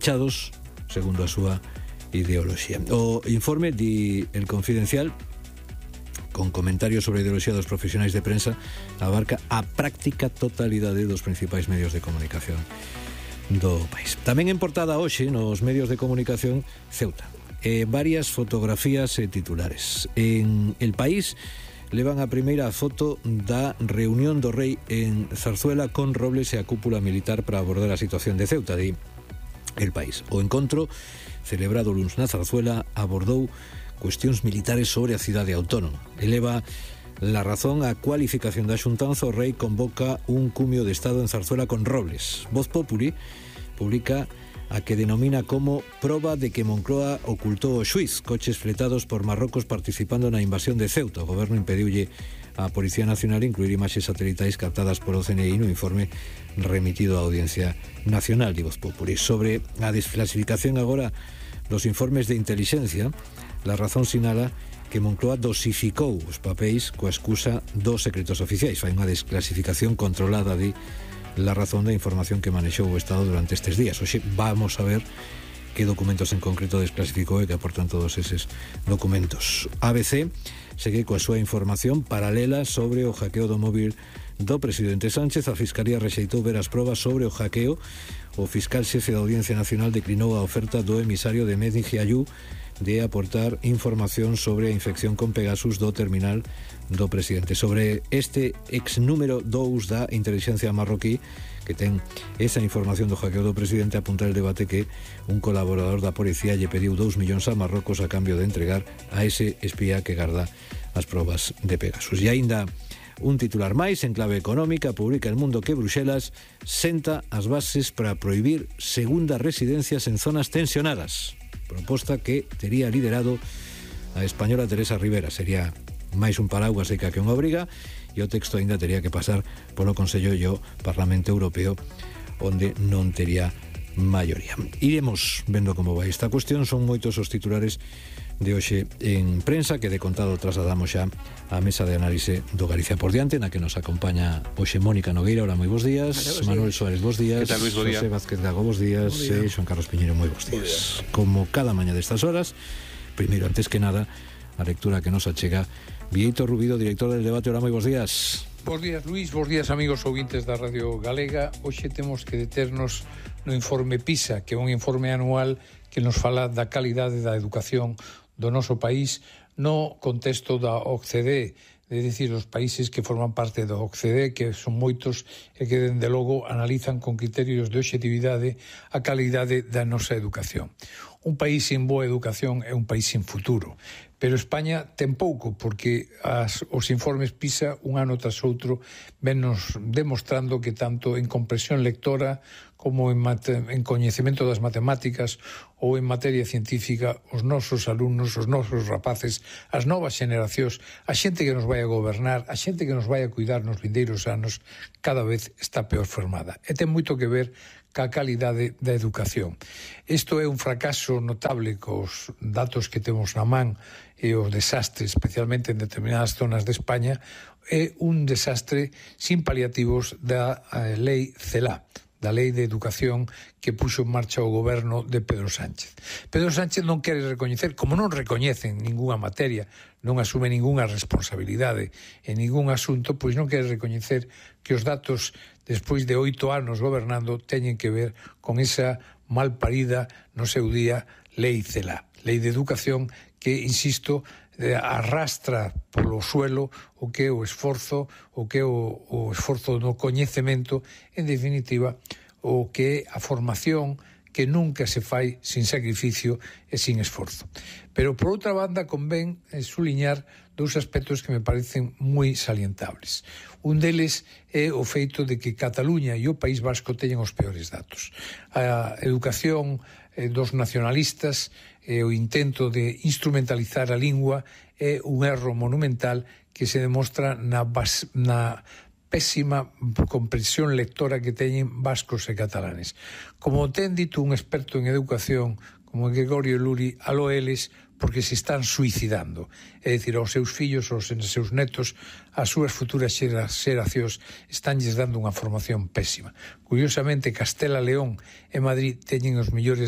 chados segundo a súa ideoloxía. O informe di El Confidencial, con comentarios sobre a ideoloxía dos profesionais de prensa, abarca a práctica totalidade dos principais medios de comunicación do país. Tamén en portada hoxe nos medios de comunicación Ceuta. Varias fotografías e titulares. En El País levan a primeira foto da reunión do rei en Zarzuela con Robles e a cúpula militar para abordar a situación de Ceuta, di El País. O encontro celebrado luns na Zarzuela abordou cuestións militares sobre a cidade autónoma. Eleva La Razón a cualificación da xuntanza. O rei convoca un cumio de Estado en Zarzuela con Robles. Voz Populi publica a que denomina como proba de que Moncloa ocultou o xuiz, coches fletados por Marrocos participando na invasión de Ceuta. O goberno impediulle a Policía Nacional incluir imaxes satelitais captadas por o CNI no informe remitido á Audiencia Nacional, de Voz Populi. Sobre a desclasificación agora dos informes de inteligencia, La Razón sinala que Moncloa dosificou os papéis coa excusa dos secretos oficiais. Fai unha desclasificación controlada, de La Razón, da información que manexou o Estado durante estes días. Hoxe vamos a ver que documentos en concreto desclasificou e que aportan todos eses documentos. ABC segue coa súa información paralela sobre o hackeo do móvil do presidente Sánchez. A Fiscalía rexeitou ver as probas sobre o hackeo. O fiscal xefe da Audiencia Nacional declinou a oferta do emisario de Medi Giayú de aportar información sobre a infección con Pegasus do terminal do presidente. Sobre este ex número 2 da inteligencia marroquí, que ten esa información do hackeo do presidente, apunta el debate que un colaborador da policía lle pediu 2 millóns a Marrocos a cambio de entregar a ese espía que garda as probas de Pegasus. E aínda un titular máis, en clave económica, publica El Mundo que Bruxelas senta as bases para prohibir segundas residencias en zonas tensionadas. Proposta que tería liderado a española Teresa Rivera. Sería máis un paraguas seca que unha obriga, e o texto aínda tería que pasar polo Consello e o Parlamento Europeo, onde non tería maioría. Iremos vendo como vai esta cuestión. Son moitos os titulares de hoxe en prensa que de contado trasladamos xa á mesa de análise do Galicia por diante, na que nos acompaña hoxe Mónica Nogueira. Hola, moi bons días. Manuel Suárez, bons días. Que tal, Luis? José Vázquez Gago, bons días. E Xoan Carlos Piñeiro, moi bons días. Como cada mañá destas horas, primeiro, antes que nada, a lectura que nos achega Bieito Rubido, director del debate. Hola, moi bons días. Bos días, Luis, bos días, amigos ouvintes da Radio Galega. Hoxe temos que deternos no informe PISA, que é un informe anual que nos fala da calidade da educación do noso país no contexto da OCDE, é dicir, os países que forman parte da OCDE, que son moitos e que, dende logo, analizan con criterios de obxectividade a calidade da nosa educación. Un país sin boa educación é un país sin futuro. Pero España ten pouco, porque os informes PISA, un ano tras outro, vennos demostrando que tanto en comprensión lectora como en coñecemento das matemáticas ou en materia científica, os nosos alumnos, os nosos rapaces, as novas xeneracións, a xente que nos vai a gobernar, a xente que nos vai a cuidar nos vindeiros anos, cada vez está peor formada. E ten moito que ver ca calidade da educación. Isto é un fracaso notable cos datos que temos na man e o desastre, especialmente en determinadas zonas de España, é un desastre sin paliativos da lei CELA, da Lei de Educación que puxo en marcha o goberno de Pedro Sánchez. Pedro Sánchez non quere recoñecer, como non recoñece en ningunha materia, non asume ningunha responsabilidade en ningún asunto, pois non quere recoñecer que os datos despois de 8 anos gobernando teñen que ver con esa malparida no seu día Lei CELA, Lei de Educación que, insisto, arrastra polo suelo o que é o esforzo, o que é o esforzo no coñecemento, en definitiva, o que é a formación que nunca se fai sin sacrificio e sin esforzo. Pero, por outra banda, convén suliñar dous aspectos que me parecen moi salientables. Un deles é o feito de que Cataluña e o País Vasco teñen os peores datos. A educación dos nacionalistas e o intento de instrumentalizar a lingua é un erro monumental que se demostra na pésima comprensión lectora que teñen vascos e catalanes. Como ten dito un experto en educación como Gregorio Luri, aló eles, porque se están suicidando. É dicir, aos seus fillos, aos seus netos, as súas futuras xeracións estánlles dando unha formación pésima. Curiosamente, Castela, León e Madrid teñen os mellores